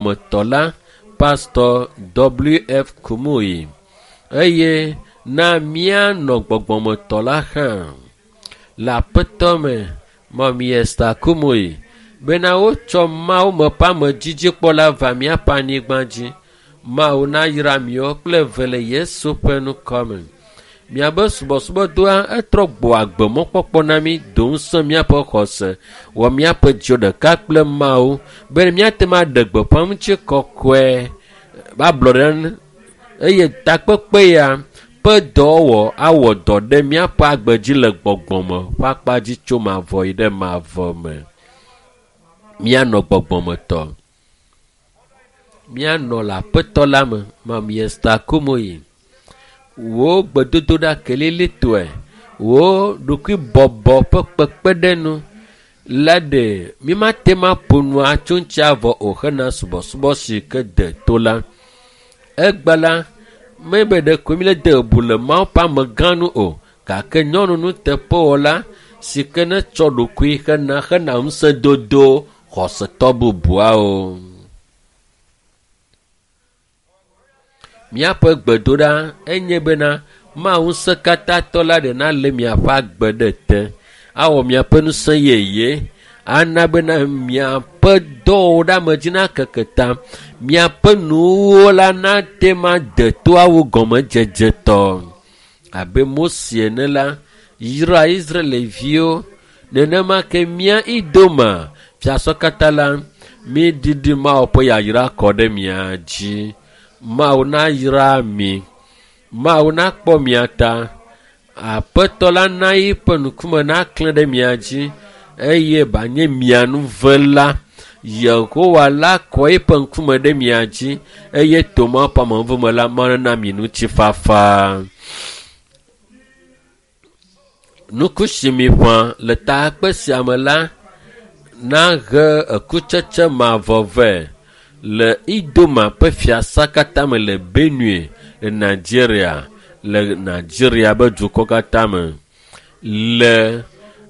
Gbɔgbɔmetɔ la, Pastɔ W.F. Kumuyi eye na míanɔ gbɔgbɔmetɔ la hã le Aƒetɔ me, Mami Esther Kumuyi, bena wotsɔ Mawu me ƒe amedzidzikpɔla va míaƒe anyigba dzi. Mawu nayra miwo kple eve le Yesu ƒe ŋkɔ me. Miabe subɔsubɔdɔa etrɔ gbɔ agbe mɔkpɔkpɔ na mí, do ŋusẽ míaƒe xɔse, wɔ míaƒe dziwo ɖeka kple Mawu be míate ŋu aɖe gbeƒã ŋuti kɔkɔe ablɔɖe eye takpekpe ya ƒe dɔwɔwɔ awɔ dɔ ɖe míaƒe agbe dzi le gbɔgbɔme ƒe akpa dzi tso mavɔ yi ɖe mavɔ me. Míanɔ gbɔgbɔmetɔ. Míanɔ le Aƒetɔ la me, Mami Esther Kumuyi. Wò gbedodoɖa kelilitɔe, wò ɖokuibɔbɔ ƒe kpekpeɖeŋu la ɖe mímate ŋu aƒo nu atso ŋuti avɔ o hena subɔsubɔ si ke de to la. Egbe la, mebe ɖeko míle de bubu le Mawu ƒe amegã nu o, gake nyɔnu nuteƒewɔla si ke netsɔ ɖokui hena hena ŋusẽdodo xɔsetɔ bubuawo. Míaƒe gbedoɖa enye bena Mawu ŋusẽkatãtɔ la ɖe nalé miaƒe agbe ɖe te, awɔ miaƒe ŋusẽ yeye, ana bena miaƒe dɔwɔwɔ ɖe ame dzi nakeke ta, miaƒe nuwuwo la nate ŋu ade toawo gɔmedzedzetɔ. Abe Mose ene la, yra Israelviwo, nenema ke mía Idoma fiasɔ katã la, míɖiɖi Mawu ƒe yayra kɔ ɖe mia dzi. Mawu nayra mi. Mawu nakpɔ mia ta. Aƒetɔ la na eƒe ŋkume naklẽ ɖe mia dzi eye banye mia nuvela. Yehowa la kɔ eƒe ŋkume ɖe mia dzi eye to Mawu ƒe amenuveve me la, Mawu nana mi ŋutifafa. Nuku si miƒã le takpe sia me la nahe ekutsetse mavɔ vɛ le Idoma ƒe fiasa katã me le Benue le Nigeria, le Nigeria ƒe dukɔ katã me. Le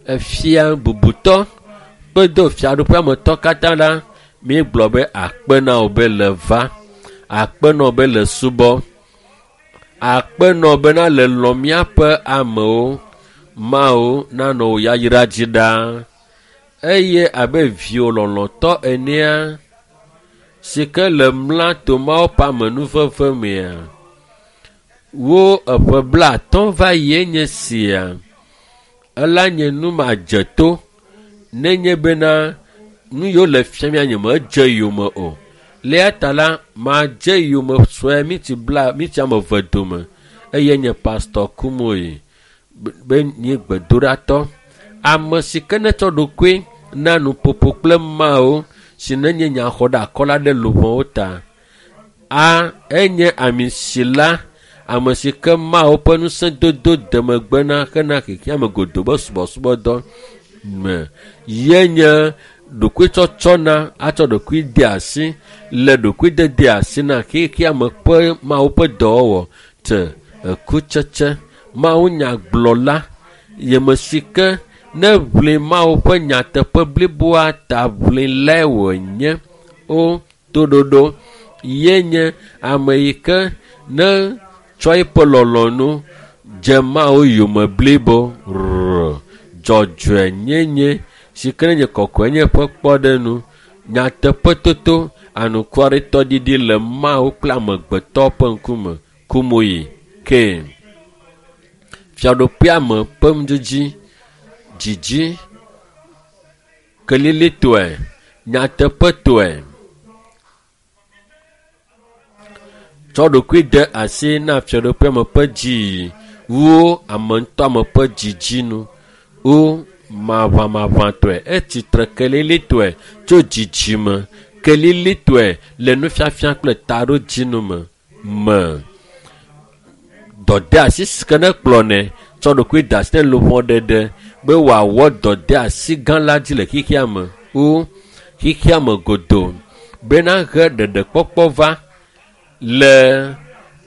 efia bubutɔ kpedo fiaɖuƒeametɔ katã la, míegblɔ be akpe na wò be le va, akpe na wò be le subɔ, akpe na wò bena le lɔ̃ míaƒe amewo. Mawu nanɔ wò yayra dzi ɖaa eye abe viwò lɔlɔ̃tɔ enea, si ke le mla to Mawu ƒe amenuveve mea, wo eƒe 50 va yie nye sia. Ela nye nu madzeto nenye bena nu yiwo le fia mía nyemedze yome o. Le eya ta la, madze yome sue miti bla miti ame eve dome eye nye Pastor Kumuyi be nye gbedoɖatɔ. Ame si ke netsɔ ɖokui na nuƒoƒo kple Mawu si nenye nyaxɔɖeakɔla ɖe luʋɔwo ta. A enye amisila, ame si ke Mawu ƒe ŋusẽdodo de megbe na hena xexeame godoo be subɔsubɔdɔ me. Ye nye ɖokuitsɔtsɔna atsɔ ɖokui de asi le ɖokuidede asi na xexeame ƒe Mawu ƒe dɔwɔwɔ te ekutsetse. Mawu nyagblɔla yeme si ke ne ʋli Mawu ƒe nyateƒe bliboa ta ʋlilae wònye o toɖoɖo ye nye ame yi ke ne tsɔ eƒe lɔlɔ̃nu dze Mawu yome blibo rrr dzɔdzɔenyenye si ke nye kɔkɔenye ƒe kpɔɖeŋu, nyateƒetoto, anukwaretɔɖiɖi le Mawu kple amegbetɔ ƒe ŋkume. Kumuyi ke fiaɖuƒea me ƒe nudidi, dzidzi, kelilitɔe, nyateƒetɔe. Tsɔ ɖokui de asi na fiaɖuƒea me ƒe dziyiyi wu ame ŋutɔ ame ƒe dzidzinu wu maʋamaʋãtɔe. Etsitre kelilitɔe tso dzidzime kelilitɔe le nufiafia kple taɖodzinu me me. Dɔdeasi si ke nekplɔnɛ tsɔ ɖokui de asi ne luʋɔ ɖeɖe be wòawɔ dɔdeasi gã la dzi le xexea me wu xexea me godoo bena he ɖeɖekpɔkpɔ va le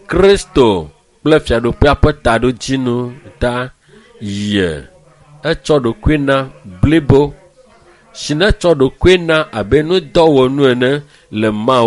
Kristo kple fiaɖuƒea ƒe taɖodzinu ta ye. Etsɔ ɖokui na blibo si netsɔ ɖokui na abe nudɔwɔnu ene le Mawu